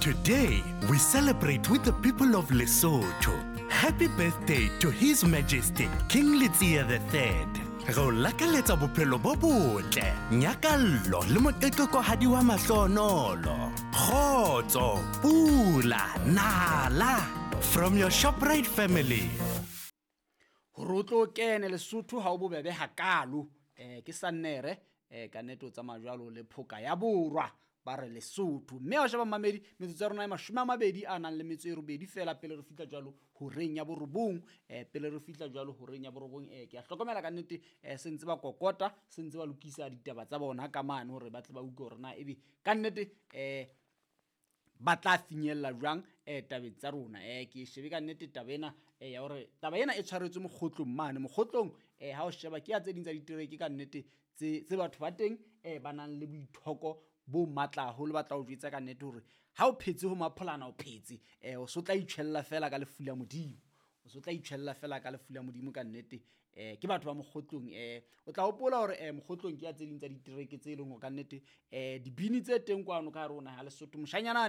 Today, we celebrate with the people of Lesotho. Happy birthday to His Majesty King Letsie III. Re o lakaletsa bophelo bo botle, nyakallo le moqeqekohadi wa mahlonolo. Kgotso, pula, nala. From your ShopRite family. Hore o tlo kene Lesotho ha o bobebe hakaalo. Ke Sannere ka nnete o tsamaya jwalo le phoka ya borwa ba re Lesotho. Mme ha o sheba mmamedi, metsotso ya rona e 20 a nang le metso e 8 feela pele re fihla jwalo horeng ya borobong. Pele re fihla jwalo horeng ya borobong, ke a hlokomela ka nnete, se ntse ba kokota, se ntse ba lokisa ditaba tsa bona ka mane hore ba tle ba utlwe hore na ebe ka nnete ba tla finyella jwang tabeng tsa rona. Ke shebe ka nnete taba ena ya hore taba ena e tshwaretswe mokgotlong mane. Mokgotlong ha o sheba ke ya tse ding tsa ditereke ka nnete tse batho ba teng ba nang le boithoko bo matla haholo, ba tla o jwetsa ka nnete hore ha o phetse ho mapholana o phetse, o so tla itjhella fela ka lefu la Modimo. O so tla itjhella fela ka lefu la Modimo ka nnete. Ke batho ba mokgotlong. O tla hopola hore mokgotlong ke ya tse ding tsa ditereke tse leng hore ka nnete dibini tse teng kwano ka hare ho naha ya Lesotho. Moshanyana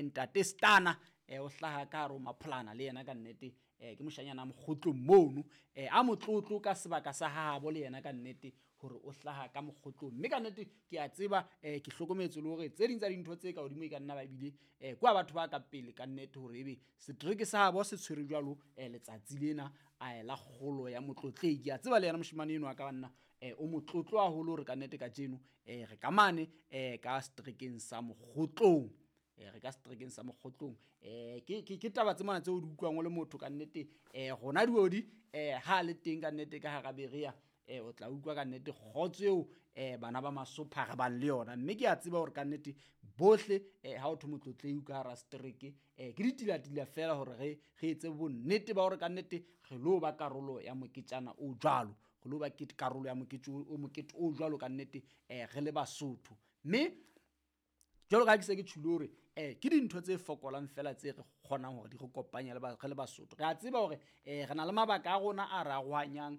ntate Stana o hlaha ka hare ho mapholana le yena ka nnete. Ke moshanyana mokgotlong mono, a motlotlo ka sebaka sa habo le yena ka nnete hore o hlaha ka mokgotlong. Mme ka nnete ke a tseba, ke hlokometse le hore tse ding tsa dintho tse ka hodimo e ka nna ba ebile kwa batho ba ka pele ka nnete hore ebe setereke sa habo se tshwere jwalo letsatsi lena la kgolo ya motlotleki. Ke a tseba le yena moshemane enwa ka banna o motlotlo haholo hore ka nnete kajeno re ka mane ka seterekeng sa mokgotlong. Re ka seterekeng sa mokgotlong. Ke taba tse mona tseo o di utlwang o le motho ka nnete. Rona diodi ha le teng ka nnete ka hara Berea, o tla utlwa ka nnete kgotso eo bana ba Masopha re bang le yona. Mme ke a tseba hore ka nnete bohle ha o thwe motlotleki ka hara setereke, ke ditilatila fela hore re etse bonnete ba hore ka nnete re lo ba karolo ya moketjana o jwalo. Re lo ba karolo ya mokete o jwalo ka nnete, re le Basotho. Mme jwalo ka ha ke se ke tjholo hore ke dintho tse fokolang fela tse re kgonang hore di re kopanye re le Basotho. Re a tseba hore re na le mabaka a rona a re arohanyang,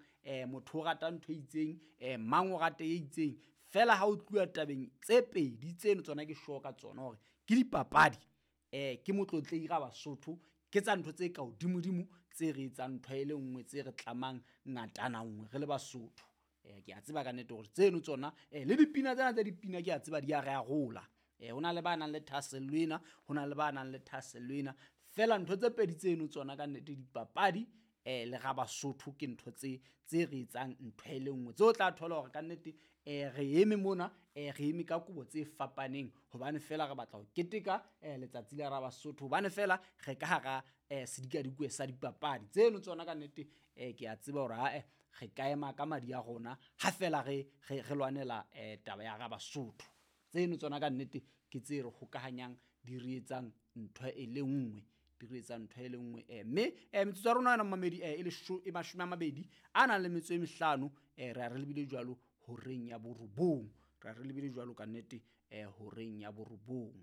motho o rata ntho e itseng, mang o rata e itseng. Fela ha o tluwa tabeng tse pedi tseno tsona ke sure ka tsona hore ke dipapadi, ke motlotleki ra Basotho, ke tsa ntho tse ka hodimodimo tse re etsang ntho e le nngwe, tse re tlamang ngatana nngwe re le Basotho. Ke a tseba ka nnete hore tseno tsona le dipina tsena tsa dipina ke a tseba di a re arola. Ho na le ba nang le thahasello ena, ho na le ba nang le thahasello ena. Fela ntho tse pedi tseno tsona ka nnete dipapadi le ra Basotho ke ntho tse re etsang ntho e le nngwe. Tseo tla thola hore ka nnete re eme mona, re eme ka kobo tse fapaneng hobane fela re batla ho keteka letsatsi la ra Basotho, hobane fela re ka hara sedikadikwe sa dipapadi. Tseno tsona ka nnete ke a tseba hore ae re ka ema ka madi a rona ha fela re lwanela taba ya ra Basotho. Tseno tsona ka nnete ke tse re hokahanyang, di re etsang ntho e le nngwe, di re etsang ntho e le nngwe. Mme metsotso ya rona yona mmamedi e 20 a nang le metso e 5, re a re lebile jwalo horeng ya borobong. Re a re lebile jwalo ka nnete horeng ya borobong.